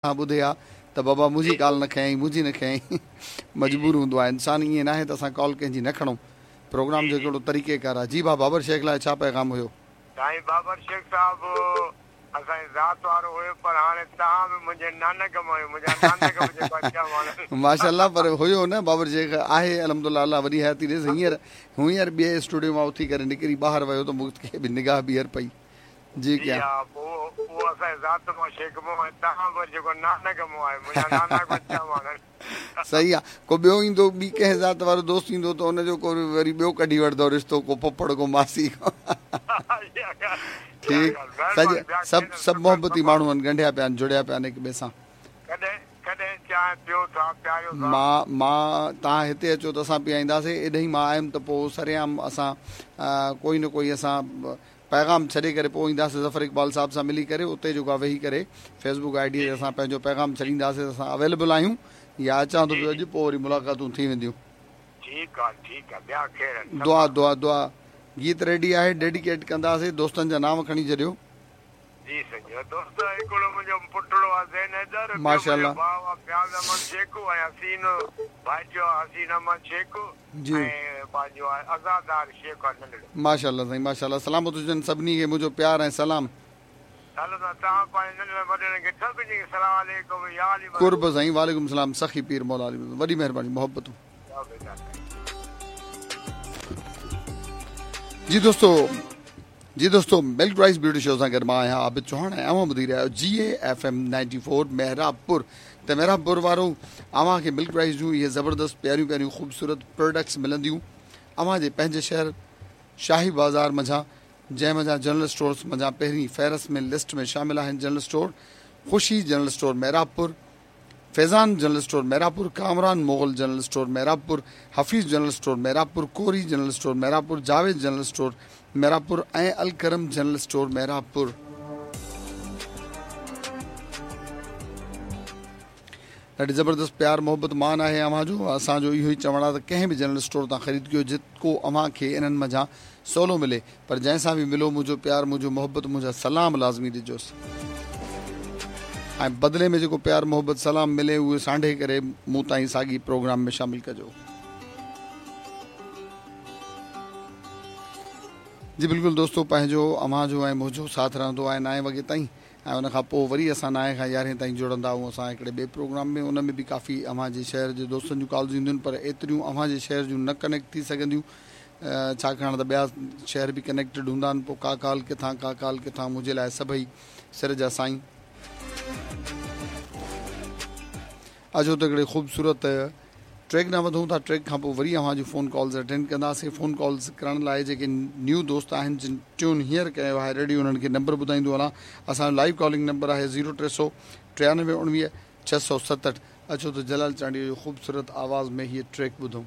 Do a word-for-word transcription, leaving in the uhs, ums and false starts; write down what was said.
ٻڌي ها ته بابا منهنجي ڪال نه کنيائين، منهنجي نه کنيائين. مجبور هوندو آهي انسان، ائين ناهي ته اسان ڪال ڪنهن جي نه کڻون. پروگرام جو هڪڙو طريقي ڪار آهي. جي ڀاء، بابر شيخ لاء ڇا پيغام هيو؟ سائين، بابر شيخ صاحب اسان جي ذات وارو هيو، پر هاڻي توهان به منهنجي نانڪ مان آهيو، منهنجا نانڪ به جيڪو اچا ماڻهو. ماشاءالله، پر هيو نه، بابر شيخ آهي، الحمدلله، الله وڏي حياتي ڏيس. هينئر هينئر ٻئي اسٽوڊيو مان اٿي ڪري نڪري ٻاهر ويو ته مون کي به نگاهه ٻيهر پئي. جي جي ها، پوء اهو اسان جي ذات مان شيخ مون ۽ توهان به جيڪو نانڪ مون آهيو، منهنجا نانڪ به اچا ماڻهو. صحيح آ. ڪو ٻيو ايندو، ٻي ڪنهن ذات وارو دوست ايندو ته ان جو ڪو وري ٻيو ڪڍي وٺندو رشتو، ڪو پڦڙ، ڪو ماسي. ٺيڪ، سڄ سڀ سڀ محبتي ماڻهو آهن، ڳنڍيا پيا آهن، جڙيا پيا آهن هڪ ٻئي سان. ڪڏهن ڪڏهن چانهه پيو ٿا، پياريو ٿا. مان مان توهان هتي اچو ته اسان پيائينداسين. ايڏهين مان آيم ته پوء سرعام اسان ڪوئي نه ڪوئي اسان پيغام ڇڏي ڪري پوء اينداسين. ظفر اقبال صاحب سان ملي ڪري اتي جيڪو آهي ويهي ڪري فيسبڪ I D تي اسان پنهنجو پيغام ڇڏينداسين ته اسان اويليبل آهيون يا اچان ٿو پيو اڄ، پوء وري ملاقاتون ٿي وينديون. ٺيڪ آ، ٺيڪ آ، ٻيا خير آهن؟ دعا دعا دعا. گيت ريڊي آهي، ڊيڊيڪيٽ ڪنداسين. دوستن جا نانء کڻي ڇڏيو. جي سائين، دوست هڪڙو منهنجو پٽڙو آ زين حيدر، ٻيو ماشاءالله. منهنجو ڀاء آ فياض احمد شيخ ۽ حسين ڀائٽيو آ حسين احمد شيخ جي ۽ پنهنجو آهي آزادار شيخ آ ننڍڙو. ماشاءالله سائين، ماشاءالله، سلامت هجن. سڀني کي منهنجو پيار ۽ سلام. هلندا توهان پنهنجي ننڍڙن وڏڙن کي سڀني کي سلام عليڪم يا علي مدد. قرب سائين، وعليڪم سلام سخي پير مولا علي مدد. وڏي مهرباني، محبتون. جي دوستو، جي دوستو، ملڪ رائس بيوٽي شو سان گڏ مان آهيان عابد چوهاڻ ۽ اوهان ٻڌي رهيا آهيو جي اي ايف ايم نائنٽي فور مهرابپور. ته مهرابپور وارو، اوهان کي ملڪ رائس جون اهي زبردست پياريون پياريون خوبصورت پروڊڪٽس ملنديون اوهان جي پنهنجي شهر شاهي بازار منجهان، جنهن منجهان جنرل اسٽورز منجهان پهرين فهرست ۾ لسٽ ۾ شامل آهن general store Khushi general store Mehrabpur, Faizan general store Mehrabpur, Kamran Mughal general store Mehrabpur, Hafeez general store Mehrabpur, Kori general store Mehrabpur, Javed general store Mehrabpur ۽ Alkaram general store Mehrabpur. ڏاڍي زبردست پيار محبت مان آهي اوهان جو. اسان جو اهو ئي چوڻ آهي ته ڪنهن به جنرل اسٽور تان خريد ڪيو، جيڪو اوهان کي انهن منجهان سولو ملي، پر جنهن سان به ملو، منهنجو پيار، منهنجو محبت، منهنجا سلام لازمي ڏجوس ۽ بدلي ۾ جيڪو پيار محبت سلام ملي اهي سانڍي ڪري مون تائين ساڳي پروگرام ۾ شامل ڪجو. جي بلڪل دوستو، پنهنجو، اوهان جو ۽ منهنجو ساٿ رهندو آهي نائين وڳي تائين ۽ ان کان پوء وري اسان نائين کان يارهين تائين جڙندا آهيون اسان هڪڙي ٻئي پروگرام ۾. ان ۾ به ڪافي اوهان جي شهر جي دوستن جون ڪالز اينديون آهن، پر ايتريون اوهان جي شهر جون نه ڪنيڪٽ ٿي سگهنديون، ڇاڪاڻ ته ٻيا شهر به ڪنيڪٽيڊ هوندا آهن. پوء ڪا ڪال ڪٿان، ڪا ڪال ڪٿان. منهنجي لاء سڀئي سر جا سائين. اچو ته هڪڙي خوبصورت ٽريڪ ڏانهن وڌون ٿا. ٽريڪ کان پوء وري اوهان جون فون ڪالز اٽينڊ ڪنداسين. فون ڪالز ڪرڻ لاء جيڪي نيو دوست آهن، جن ٽيون هينئر ڪيو آهي ريڊيو، انهن کي نمبر ٻڌائيندو هلان. اسان جو لائيو ڪالنگ نمبر آهي زيرو ٽي سؤ ٽيانوي اڻويهه ڇهه سؤ ستهٺ. اچو ته جلال چانڊيو جو خوبصورت آواز ۾ هيء ٽريڪ ٻڌون.